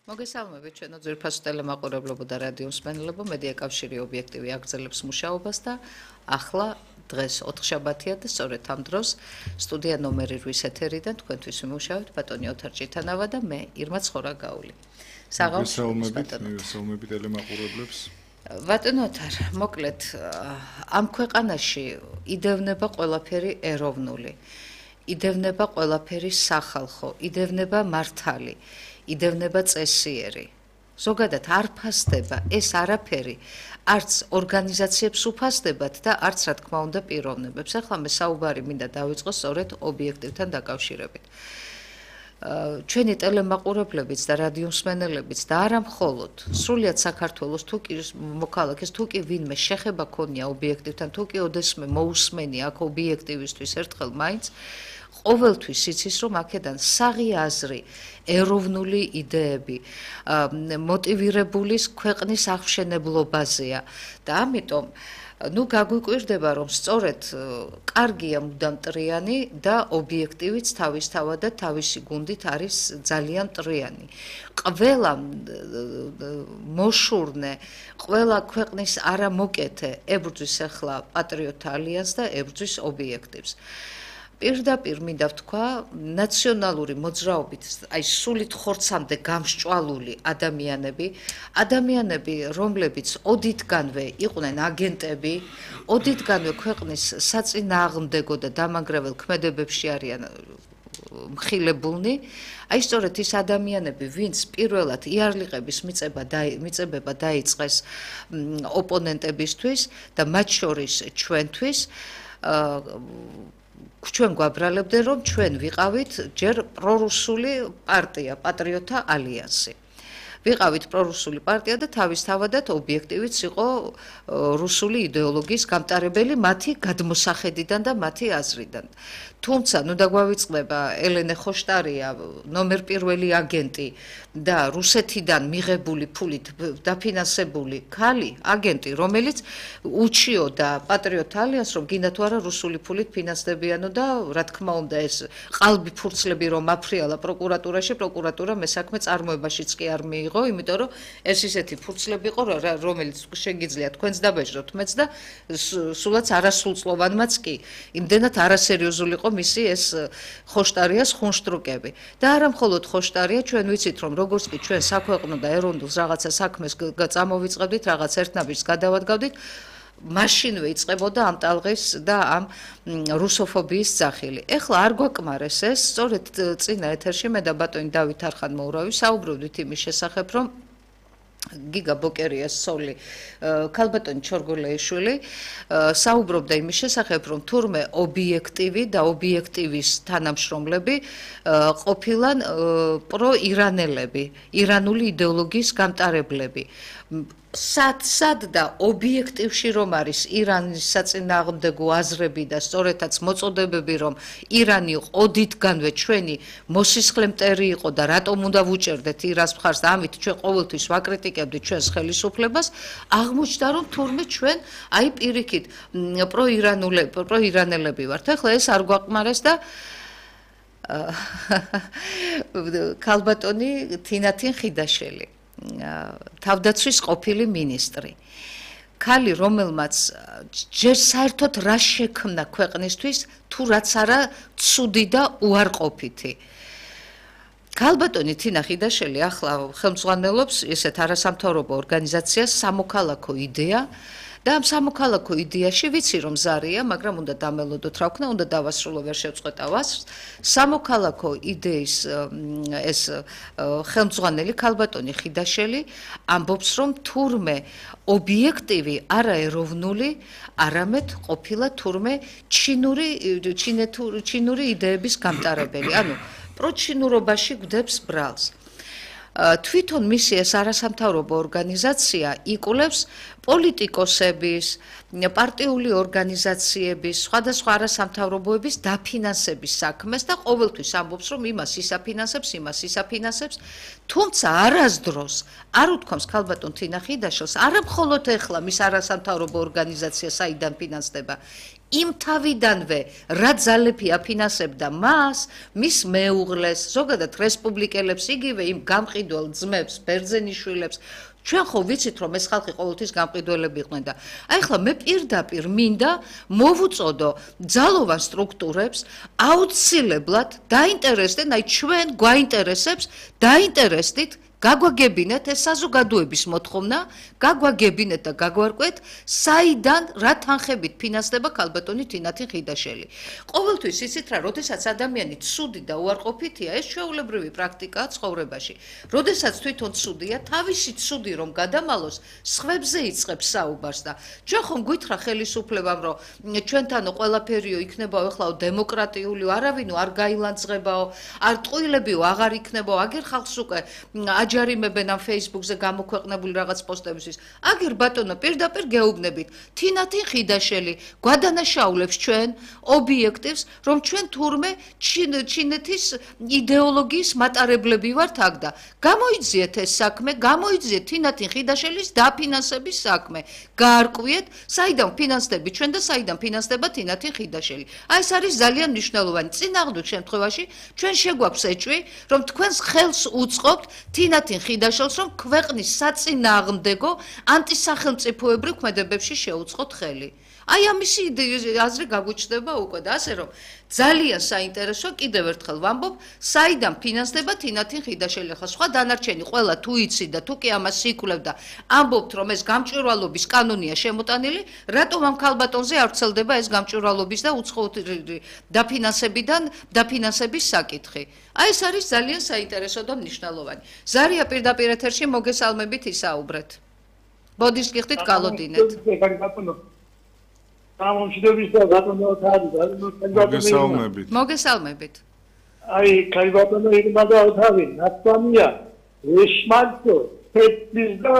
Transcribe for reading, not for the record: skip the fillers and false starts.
მოგესალმებით ჩვენო ძვირფასო ტელემაყურებლებო და რადიო მსმენელებო, მედია კავშირი ობიექტივი აგრძელებს მუშაობას და ახლა დღეს ოთხშაბათია და სწორედ ამ დროს სტუდია ნომერი 8 ეთერიდან თქვენთვის ვიმუშავებთ ბატონი ოთარ ჭიტანავა და მე ირმა ცხორაგაული. მოგესალმებით ტელემაყურებლებს. ბატონო ოთარ, მოკლედ ამ ქვეყანაში იდევნება ყველაფერი ეროვნული. იდევნება ყველაფერი სახალხო, იდევნება მართალი. იდევნება წესიერი. ზოგადად არ ფასდება ეს არაფერი, არც ორგანიზაციებს უფასდებათ და არც რა თქმა უნდა პიროვნებებს. ახლა მე საუბარი მინდა დავიწყო სწორედ ობიექტივთან დაკავშირებით. ჩვენი ტელემაყურებლებიც და რადიო მსმენელებიც და არა მხოლოდ სრულიად საქართველოს თუ კი მოქალაქეს თუ კი ვინმე შეხება ქონია ობიექტივთან თუ კი ოდესმე მოусმენი აქ ობიექტივისთვის ერთხელ მაინც ყოველთვის იცის რომ აქედან საღი აზრი ეროვნული იდეები მოტივირებული ქვეყნის აღმშენებლობაზეა და ამიტომ გაგვიკვირდება რომ სწორედ კარგია მუდამ მტრიანი და ობიექტივიც თავისთავად და თავისი გუნდით არის ძალიან მტრიანი. ყველა მოშურნე, ყველა ქვეყნის არამოკეთე ებრძვის ახლა პატრიოტ ალიანსს და ებრძვის ობიექტივს. პირდაპირ მინდა ვთქვა, ნაციონალური მოძრაობით, აი სულით ხორცამდე გამსჭვალული ადამიანები, რომლებიც ოდითგანვე იყვნენ აგენტები, ოდითგანვე ქვეყნის საწინააღმდეგო და დამანგრეველ ქმედებებში არიან მხილებულნი, აი სწორედ ის ადამიანები, ვინც პირველად იარლიყების მიწებება დაიწყეს ოპონენტებისთვის და მათ შორის ჩვენთვის ჩვენ გვაბრალებდნენ რომ ჩვენ ვიყავით ჯერ პრორუსული პარტია, პატრიოტთა ალიანსი. ვიყავით პრორუსული პარტია და თავისთავადად ობიექტივიც იყო რუსული იდეოლოგიის გამტარებელი მათი გადმოსახედიდან და მათი აზრიდან. თუმცა დაგვავიწყდება ელენე ხოშტარია, ნომერ პირველი აგენტი და რუსეთიდან მიღებული ფულით დაფინანსებული ქალი, აგენტი, რომელიც უჩიოდა პატრიოტ ალიანსს, რომ გინდა თუ არა რუსული ფულით ფინანსდებიანო და რა თქმა უნდა ეს ყალბი ფურცლები რომ აფრიალა პროკურატურაში, პროკურატურა მესაქმე წარმოებაშიც კი არ მიიღო, იმიტომ რომ ეს ისეთი ფურცლები იყო, რომელიც შეგიძლია თქვენც დაბეჭდოთ მეც და სულაც არასრულწლოვანმაც კი. იმდენად არასერიოზული იყო მისი ეს ხოშტარიას ხუნშტრუკები. და არა მხოლოდ ხოშტარია, ჩვენ ვიცით რომ როგორც კი ჩვენ საქვეყნო და ეროვნულს რაღაცა საქმეს წამოვიწყებდით, რაღაც ერთნაბიჯს გადავადგავდით, მაშინვე იწყებოდა ამ ტალღის და ამ რუსოფობიის ძახილი. ეხლა არ გვაკმარეს ეს, სწორედ წინა ეთერში მე და ბატონი დავით არხან-მოურავი საუბრობდით იმის შესახებ, რომ გიგა ბოკერიას სოლი, ქალბატონი ჩორგოლეიშვილი საუბრობდა იმის შესახებ, რომ თურმე ობიექტივი და ობიექტივის თანამშრომლები ყოფილან პროირანელები, ირანული იდეოლოგიის გამტარებლები. სად და ობიექტივში რომ არის ირანის საწინააღმდეგო აზრები და სწორედაც მოწოდებები რომ ირანი ოდითგანვე ჩვენი მოსისხლე მტერი იყო და რატომ უნდა ვუჭერდეთ ირანს მხარს და ამით ჩვენ ყოველთვის ვაკრიტიკებდით ჩვენს ხელისუფლებას, აღმოჩნდა რომ თურმე ჩვენ აი პირიქით პროირანელები ვართ. ახლა ეს არ გვაყმარეს და ქალბატონი თინათინ ხიდაშელი, თავდაცვის ყოფილი მინისტრი. ქალი, რომელმაც ჯერ საერთოდ რა შექმნა ქვეყნისთვის, თუ რაც არა ცუდი და უარყოფითი. ქალბატონი თინა ხიდაშელი ახლა ხელმძღვანელობს ესეთ არასამთავრობო ორგანიზაციას სამოქალაქო იდეა და ამ სამოქალაქო იდეაში ვიცი რომ ზარია, მაგრამ უნდა დამელოდოთ რა ვქნა, უნდა დავასრულო, ვერ შევწყვეტავ ასრს. სამოქალაქო იდეის ეს ხელმძღვანელი ქალბატონი ხიდაშელი ამბობს რომ თურმე ობიექტივი არა ეროვნული, არამედ ყოფილა თურმე ჩინური იდეების გამტარებელი. ანუ პროჩინურობაში გვდებს ბრალს. თვითონ მისი ეს არასამთავრობო ორგანიზაცია იკვლევს პოლიტიკოსების, პარტიული ორგანიზაციების, სხვადასხვა არასამთავრობოების დაფინანსების საქმეს და ყოველთვის ამბობს, რომ იმას ისაფინანსებს, თუმცა არასდროს არ უთქვამს ქალბატონ თინა ხიდაშელს, არა მხოლოდ ეხლა მის არასამთავრობო ორგანიზაცია საიდან ფინანსდება, იმ თავიდანვე რა ძალები აფინანსებდა მას, მის მეუღლეს, ზოგადად რესპუბლიკელებს, იგივე იმ გამყიდველ ძმებს, ბერძენიშვილებს, ჩვენ ხო ვიცით რომ ეს ხალხი ყოველთვის გამყიდველები იყვნენ და აი ახლა მე პირდაპირ მინდა მოვუწოდო ძალოვან სტრუქტურებს აუცილებლად დაინტერესდნენ, აი ჩვენ გვაინტერესებს დაინტერესდით გაგვაგებინეთ ეს საზოგადოების მოთხოვნა, გაგვაგებინეთ და გაგვარკვეთ, საიდან რა თანხებით ფინანსდება ქალბატონი თინათინ ხიდაშელი. ყოველთვის იცით რა, როდესაც ადამიანი ცუდი და უარყოფითია, ეს ჩვეულებრივი პრაქტიკაა ცხოვრებაში. როდესაც თვითონ ცუდია, თავისი ცუდი რომ გადამალოს, სხვებზე იწყებს საუბარს და ჩვენ ხომ გვითხრა ხელისუფლებამ, რომ ჩვენთანო ყველაფერიო იქნებაო ეხლაო დემოკრატიული, არავინო არ გაილანძღებაო, არ ტყუილებიო აღარ იქნებაო, აგერ ხალხს უკვე აჯარიმებენ ამ Facebook-ზე გამოქვეყნებული რაღაც პოსტებისთვის. აგერ ბატონო პირდაპირ გეუბნებით, თინათინ ხიდაშელი გვადანაშაულებს ჩვენ ობიექტივს, რომ ჩვენ თურმე ჩინეთის იდეოლოგიის მატარებლები ვართ აქ და გამოიძიეთ ეს საქმე, გამოიძიეთ თინათინ ხიდაშელის დაფინანსების საქმე. გაარკვიეთ, საიდან ფინანსდები ჩვენ და საიდან ფინანსდება თინათინ ხიდაშელი. აი ეს არის ძალიან მნიშვნელოვანი. წინააღმდეგ შემთხვევაში ჩვენ შეგვაქვს ეჭვი, რომ თქვენს ხელს უწყობთ თინათინ ხიდაშელს, რომ ქვეყნის საწინააღმდეგო ანტისახელმწიფოებრივ ქმედებებში შეუწყოთ ხელი. აი ამისი აზრი გაგვიჩნდება უკვე და ასე რომ ძალიან საინტერესო კიდევ ერთხელ ვამბობ, საიდან ფინანსდება თინათინ ხიდაშელი. ხა სხვა დანარჩენი ყველა თუ იცი და თუ კი ამას სიკვდილებ და ამბობთ რომ ეს გამჭვირვალობის კანონია შემოტანილი, რატომ ამ ქალბატონზე არ ვრცელდება ეს გამჭვირვალობის და უცხოური დაფინანსების საკითხი. აი ეს არის ძალიან საინტერესო და მნიშვნელოვანი. ზარია პირდაპირ ეთერში მოგესალმებით ისაუბრეთ. ბოდიშ გიხდით გალოდინეთ. მოგესალმებით. აი, ქალბატონო ირმა და თავი, ნაცვამია, ეშმალცო, თეთრის და